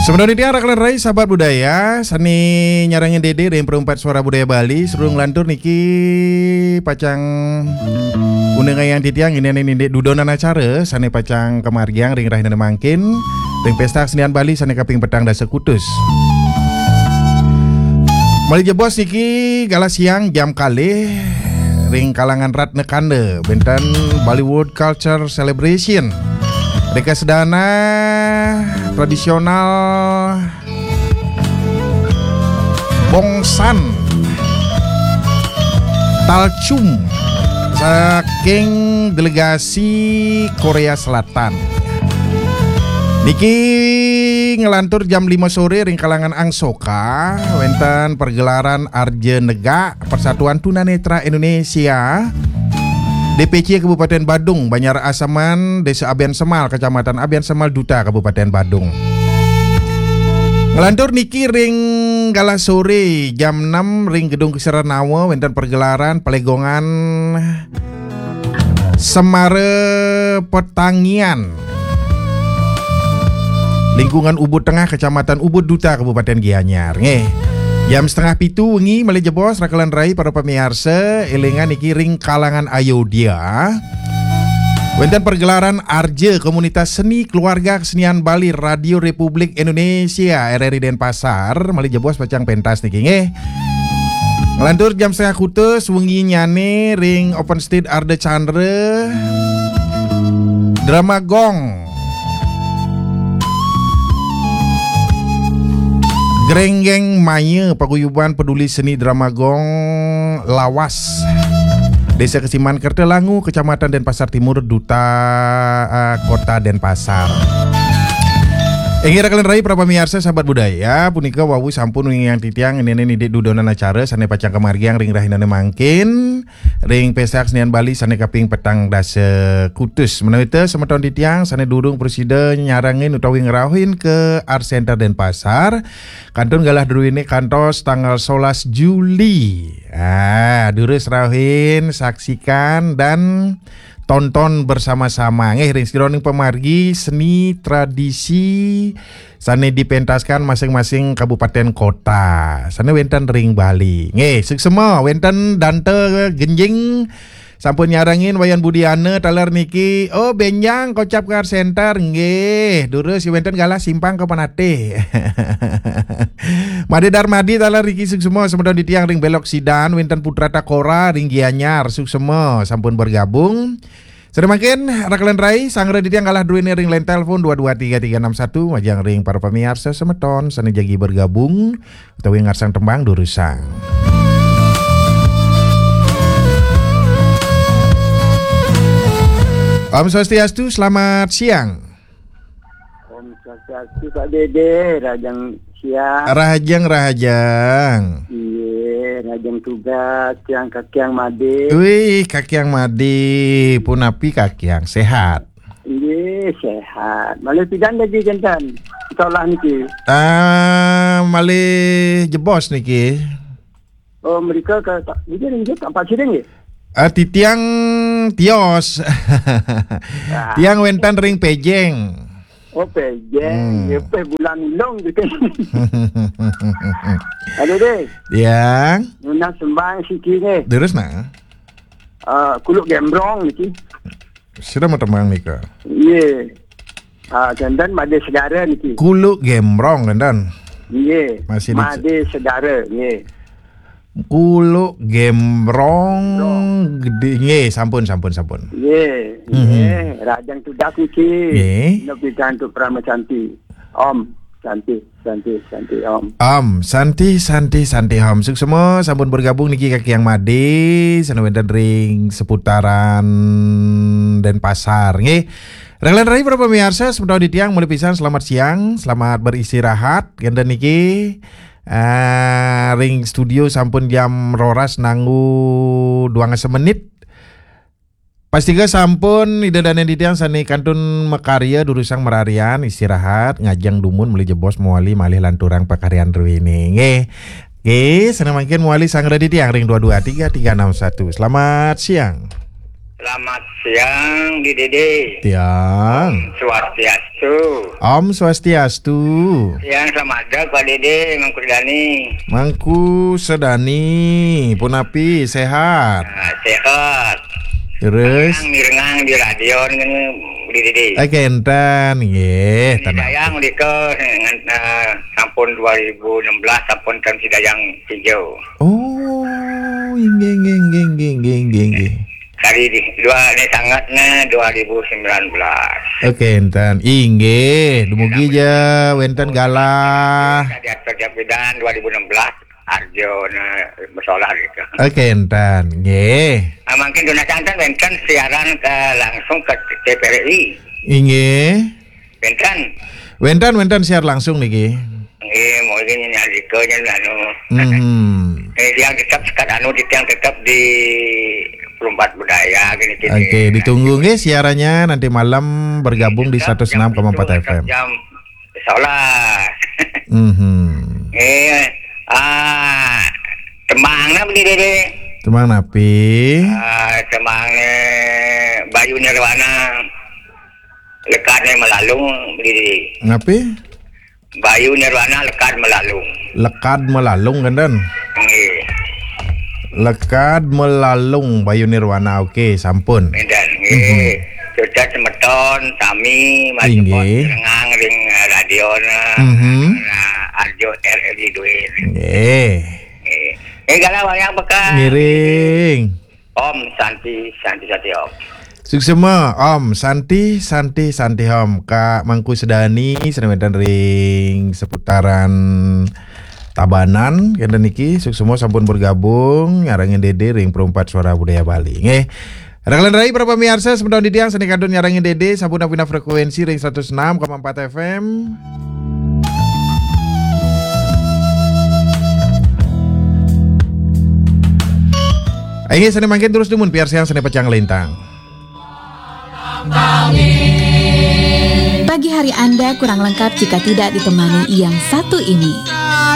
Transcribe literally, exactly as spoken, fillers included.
Semeton titiang rakan rai sahabat budaya, sane nyarengin Dede ring Perumpat Suara Budaya Bali, sareng nglantur niki pacang unengayang titiang indik dudonan acara sane pacang kamargiang ring rahinane mangkin, ring Pesta Kesenian Bali sane kaping petang dasa kutus. Malih jebos niki galah siang jam kalih ring kalangan Ratna Kanda, wenten Bollywood Culture Celebration. Ring kasedana tradisional Bongsan Talchum saking delegasi Korea Selatan. Niki nglantur jam lima sore ring kalangan Angsoka, wenten pergelaran Arja Negak Persatuan Tunanetra Indonesia, D P C Kabupaten Badung, Banjar Asaman, Desa Abian Semal, Kecamatan Abian Semal, Duta Kabupaten Badung. Nglantur niki ring galah sore jam enam ring Gedung Kesenian Nawa, wenten pergelaran pelegongan Semara Petangian, lingkungan Ubud Tengah, Kecamatan Ubud, Duta Kabupaten Gianyar. Nggih. Jam setengah pitu wengi malih jebos, rakan rai, para pamiarsa, elingan niki ring kalangan Ayodhya. Wenten pergelaran Arja Komunitas Seni Keluarga Kesenian Bali Radio Republik Indonesia, R R I Denpasar, malih jebos pacang pentas niki nggih. Nglantur jam setengah kutus wenginyane ring Open Stage Ardha Candra, Drama Gong, Grenggeng Maya, Paguyuban Peduli Seni Drama Gong Lawas, Desa Kesiman, Kerta Langu, Kecamatan Denpasar Timur, Duta, eh, Kota Denpasar. Inggih rakan rai para pamiarsa sahabat budaya, punika wau sampun winging titiang indik dudonan acara sane pacang kamargiang ring rahinane mangkin, ring Pesta Kesenian Bali sane kaping petang dasa kutus. Menawita semeton titiang sane durung prasida nyarengin utawi ngrauhin ke Art Center Denpasar, kantun galah druene kantos tanggal solas Juli. Ah, durus rauhin, saksikan, dan tonton bersama-sama nggih ring sajeroning pamargi seni tradisi sane dipentaskan masing-masing kabupaten kota sane wenten ring Bali. Nggih, suksma, wenten Danta Genjing sampun nyarengin, Wayan Budiana taler niki, oh, benjang kocap ke Art Center, nggih, durus wenten galah simpang ke Penatih. Made Darmadi taler niki suksma semeton titiang ring Belok Sidan, wenten Putra Takora ring Gianyar, suksma sampun bergabung. Sane mangkin, rakan rai, sanggra titiang galah druene ring line telepon dua dua tiga tiga enam satu, majeng ring para pamiarsa semeton sane jagi bergabung utawi ngarsang tembang durusang. Om Swastiastu, selamat siang. Om Swastiastu, Pak Dede, rahajeng siang. Rahajeng, rahajeng. Iya, rahajeng tugas, siang Kakiang Made. Wih, Kakiang Made, punapi Kakiang, sehat? Iya, sehat. Malih pidan jagi kenten sekolah niki? Ah, malih jebos niki. Oh, mereka ke, niki ring Pak Siring nggih? Ah, titiang tios. Ah. Tiang wenten ring Pejeng. Oh, Pejeng. Hmm. Ya, Pejeng Bulan Ilung gitu. Halo, Dek. Tiang. Nunas tembang siki nggih. Terus nah. Ah, Kuluk Gembrong niki. Sira mau tembang nika. Iya. Ah, kenten Made Segara niki. Kuluk Gembrong kenten. Iya. Masih di Made Segara, iya. Kuluk Gembrong. Gembrong. Gede, nggih, sampun, sampun, sampun. Nggih, mhm, nggih, rahajeng tugas niki. Nggih. Nepi antuk Parama Santi. Om Santi, Santi, Santi, Om. Om Santi, Santi, Santi, Om. Suksma sampun bergabung niki Kakiang Made, sane wenten ring seputaran Denpasar, nggih. Rakan rai para pamiarsa, semeton titiang malih pisan selamat siang, selamat beristirahat. Kenten niki, eh, ring studio sampun jam roras nganggo duang dasa menit. Pastika sampun Ida Dane titiang sane kantun makarya durusang mararian, istirahat, ngajeng dumun malih jebos mawali malih lanturang pakaryan druene. Nggih. Nggih, sane mangkin mawali sanggra titiang ring dua dua tiga tiga enam satu. Selamat siang. Selamat siang, Di Dede. Tiang. Swastiastu. Om Swastiastu. Siang, selamat ada, Pak Dede, Mangku Dani. Mangku Sedani, punapi, sehat? Ah, sehat. Terus? Mirengang, mirengang di radio ni, Di Dede. Eh, kenten, nggih, tenang. Dayang, Dika, dengan, ah, sampun dua ribu enam belas, sampun tahun Sidayang hijau. Oh, inggih, inggih, inggih, inggih, inggih, inggih. Dari di, dua ni sangat ni dua ribu sembilan belas. Oke, enten. Inggih, dumugi ja wenten galah. Tadi atur jam pidan dua ribu enam belas, Arjo na bersolah gitu. Oke, enten. Nggih. Ah, mungkin duna santan wenten siaran ke langsung ke T V R I. Inggih. Wenten. Wenten, wenten siar langsung niki. Nggih, mungkin nyalika nya anu. Mhm. Eh, yang tetap sekat anu di yang tetap di Perumpat Budaya gini, gini. Oke, ditunggu nggih siarannya nanti malam bergabung di Tetap jam seratus enam koma empat itu, tetap F M. Jam salah. Mhm. Eh, ah, tembang apa ni, Dede? Tembang napi? Ah, tembang, eh, Bayu Nirwana. Lekadnya melalung, Dede. Napi? Bayu Nirwana lekad melalung. Lekad melalung, kenten? Nggih. Lekad melalung Bayu Nirwana. Oke, sampun. Kenten, nggih. Mhm. Sudah semeton sami masih Inggih. Pot rengang ring, eh, radio na. Mhm. Nah, Arjo R L I duit. Nggih. Nggih. Eh, galah wayang bekas. Ngiring. Om Santi, Santi, Santi Om. Suksma, Om Santi, Santi, Santi Om. Kak Mangku Sedani, sane wenten ring seputaran Tabanan, kenten niki, suksma sampun bergabung, nyarengin Dede ring Perumpat Suara Budaya Bali. Nggih. Rakalan rai para pamiarsa, semeton titiang sane kantun nyarengin Dede, sampun napina frekuensi ring seratus enam koma empat F M. Inggih, sane mangkin terus dumun piarsa sane pacang lintang. Pagi hari Anda kurang lengkap jika tidak ditemani yang satu ini.